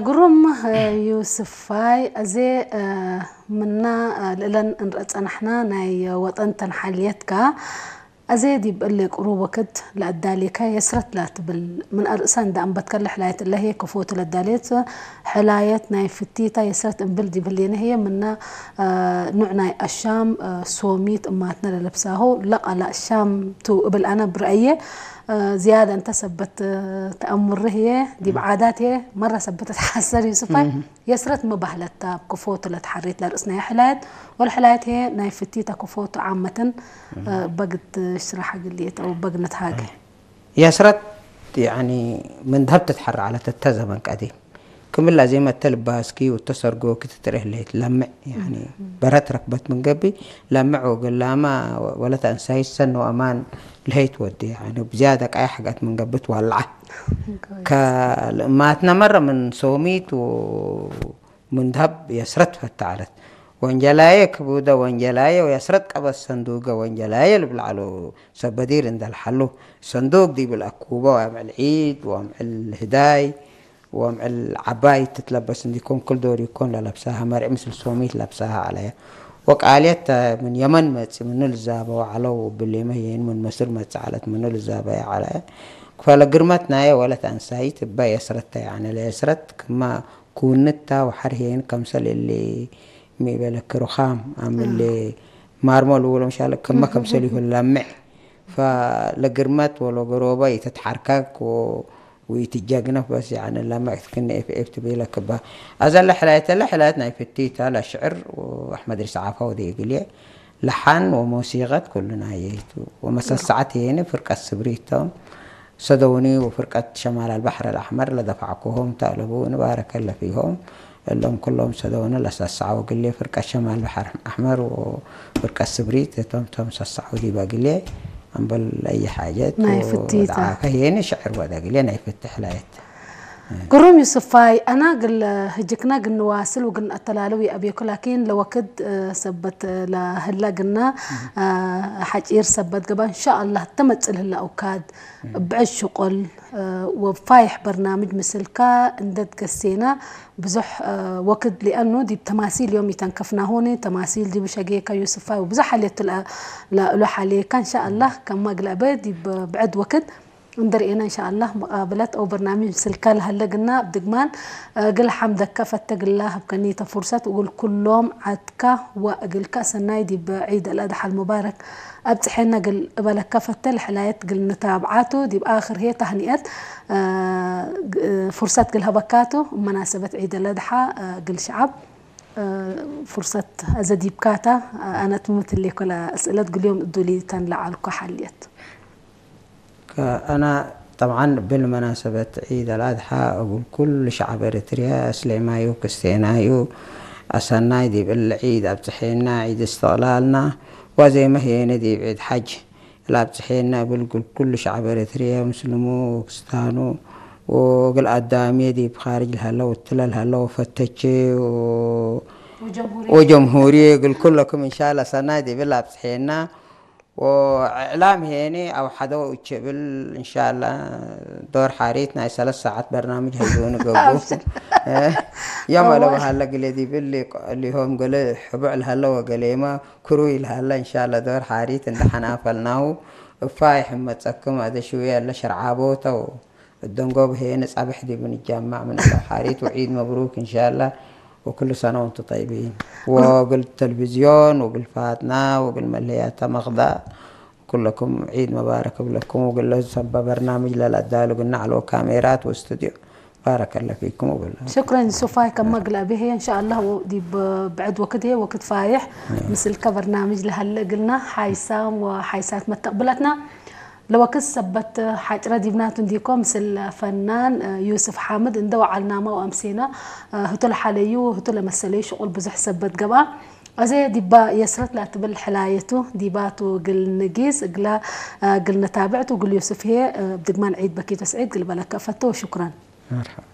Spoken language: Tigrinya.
ግሩም ዩስፋይ፣ ኣዜ ምና ልእለን እንረጸናሕና ናይ ወጠን ተንሓልየትካ ኣዜ ዲብ እለ ቅሩብ ወክድ ለኣዳሌካ የስረት ላትብል ምን ኣርእሳ እንዳ እንበትከለ ሕላየት እለ ህየ ክፎቱ ለዳሌት ሕላየት ናይ ፍቲታ የስረት እንብል ዲብ ህሌነ ህየ ምና ኑዕ ናይ ኣሻም ሶሚት እማትና ለለብሳሁ ለቃላ ኣሻም ቱ እብል ኣነ ብረአየ ዝያዳ እንተ ሰበት ተኣምር ህየ ዲብ ዓዳት ህየ መራ ሰበት ተሓሰር ዩስፋይ የስረት መባህለታ ክፎቱ ለትሓሬት ለርእስና የሕላየት ወልሕላየት ህየ ናይ ፍቲታ ክፎቱ ዓመትን በግት ሽራሕ ግልየት በግነት ሃገ የስረት ያኒ ምን ደሀብ ትትሐረ ዐለት እተ ዘመን ቀዲም ክምላ ዜመ እተ ልባስኪ ወእተ ሰርጎኪ ትትርኤ ህሌት ለምዕ ያኒ በረት ረክበት ምን ገብእ ለምዕ ወገላማ ወለት አንሳይት ሰን ወአማን ለሀይት ወዲ ያኒ ብዝያደ ቃያ ሐጋት ምን ገብእ ትዋልዓ ከልእማትነ መረ ምን ሶሚት ወምን ደሀብ የስረት ፈተ ዐለት ወንጀላየ ክቡደ ወንጀላየ ወየስረት ቀበት ሰንዱገ ወንጀላየ ልብል ዐሉ ሰብ በዲር እንደ ለሐሉ ሰንዱግ ዲብ ለአኩበ ወአምዕል ዒድ ወአምዕል ህዳይ ወአምዕል ዐባይ ትትለበስ እንዲኮን ክል ዶር ይኮን ለለብሳሀ መርዒ ምስል ሶሚት ለብሳሀ ዐለየ ወቃልየት ተ ምን የመን መጽእ ምኑ ልዛበወ ዐለው እብሊመ ህዬን ምን መስር መጽእ ዐለት ምኑ ልዛበየ ዐለየ ፈለግርመት ናየ ወለት አንሳይት እበ የስረት ተ ያኒ ለየስረት ክመ ኩውንት ተ ወሐር ህዬን ከምሰል እሊ ሚ በለኪ ሩኻም አም እሊ ማርሞ ልውሎ ምሻለ ክመ ከምሰል ይሁን ለምዕ ፈለግርመት ወለገሮበ ኢትትሐርከክ ወኢትጀግነፍ በስ ያኒ ለምዕ ትክኒ ኤፍ ኤፍ ትቤለክ እባ አዘ ለሕላየት ለሕላየት ናይ ፍቲታ ለሽዕር ወአሕመድ ሪስ ዓፋ ወደ እግልየ ለሓን ወሞሲቀት ኩሉ ናየይቱ ወመሰሰዓት የኒ ፍርቀት ስብሪቶም ሰደውኒ ወፍርቀት ሸማል አልባሕር አልአሕመር ለደፋዕኩሆም ተአለቡ ንባረከ ለፊሆም እሎም ኩሎም ሰደውኒ ለሰሰዐው እግልየ ፍርቀት ሸማል ባሕር አሕመር ወፍርቀት ስብሪት እቶም ቶም ሰሰዐው ዲብ እግልየ አምበል አይ ሓጀት ናይ ፍቲታ ወደዓፈ የኒ ሽዕር ወደ እግልየ ናይ ፍትሕ ላየት ግሩም ዩስፋይ፣ አና ግል ህጅክና ግንዋስል ወግንአተላልው የአቤኩ ላኪን ለወክድ ሰበት ለህላ ግና ሐጪር ሰበት ገባ እንሻአላህ ተመጽእ ልህላ ኡካድ ብዕድ ሽቆል ወፋይሕ በርናምጅ ምስልካ እንደት ገሴና ብዙሕ ወክድ ሊአኑ ዲብ ተማሲል ዮም ይተንከፍናሁኒ ተማሲል ዲብ ሸጌካ ዩስፋይ ወብዙሕ ሐሌቱ ለእሉ ሐሌካ እንሻአላህ ከማ ግለአበ ዲብ ብዕድ ወክድ እንደ ርኤና እንሻአላህ መቃብለት አው በርናምጅ ምስልካ ለሀለ ግና እብ ድግማን እግል ሐምደከ ፈተ ግላ ሀብከኒ ተ ፉርሰት እግል ኩሎም ዐድካ ወእግልከ ሰናይ ዲብ ዒድ አልአድሓ አልሙባረክ አብጽሐና እግል እበለከ ፈተ ለሕላየት እግል ንታብዓቱ ዲብ አክር ህየ ታህኒአት ፉርሰት እግል ሀበካቱ እብ መናሰበት ዒድ አልአድሓ እግል ሸዐብ ፉርሰት አዘ ዲብካታ አነ ትምትሌኮ ለአስእለት ግልዮም እዱሊ ተን ለዐልኮ ሐልየት ከአና ጠብዓን እብል መናሰበት ዒድ አልአድሓ እግል ኩሉ ሸዐብ ኤረትርያ እስሌማዩ ክስቴናዩ አሰናይ ዲብ እሊ ዒድ አብጽሔና ዒድ እስትቅላልና ዋዜመ ህዬነ ዲብ ዒድ ሐጅ ለአብጽሔና እብል እግል ኩሉ ሸዐብ ኤረትርያ ምስልሙ ወክስታኑ ወእግል አዳምየ ዲብ ካርጅ ለሀለ ወትለ ለሀለ ወፈተቼ ወጀምሁርየ እግል ኩለኩም እንሻላ ሰናይ ዲብል አብጽሔና ወእዕላም ሄኒ አው ሐደው እቼ እብል እንሻላ ዶር ሐሪት ናይ ሰለስ ሰዓት በርናምጅ ሀይቡኒ ገብኡ የም አለበሃለ ግሌ ዲብል ሊሆም ገለ ሕቡዕ ለሀለ ወገሌማ ክሩይ ለሀለ እንሻላ ዶር ሐሪት እንደ ሐናፈልናሁ እፋ ይሕመጸክም አደ ሽውየ አለ ሸርዓቦተው እደንጎብ ሄኒ ጸብሕ ዲብ ንጃማዕ ምን አለ ሐሪት ወዒድ መብሩክ እንሻላ ወኩሉ ሰነ ወንቱ ጠይቢን ወግል ተልቪዝዮን ወግል ፋትና ወግል መለያታ መክዳ ኩለኩም ዒድ መባረክ እብለኩም ወግለ ሰባ በርናምጅ ለለአዳሉ ግና ዐለ ካሜራት ወስትድዮ ባረከ ለ ፊኩም እብለ። ሽክረን ሱፋይ ከመ ግላ ብሄ እንሻአላህ ዲብ ብዕድ ወክድ ህየ ወክድ ፋይሕ ምስልከ በርናምጅ ለሀለ እግልና ሓይሳም ወሓይሳት መተቅብለትና ለወክድ ሰበት ሓጭረ ዲብናቱ እንዲኮ ምስል ፈናን ዩስፍ ሓምድ እንደ ወዓልናማ ወአምሴና ህቱ ለሓለዩ ህቱ ለመሰለዩ ሽቁል ብዙሕ ሰበት ገብአ። አዜ ዲባ የስረት ላትብል ሕላየቱ ዲባቱ ግል ንጊስ እግላ ግል ነታብዕቱ ግል ዩስፍ ህየ ብድግማን ዒድ በኪቶ ስዒድ ግል በለከ ፈቶ ወሽኩረን። መርሐባ።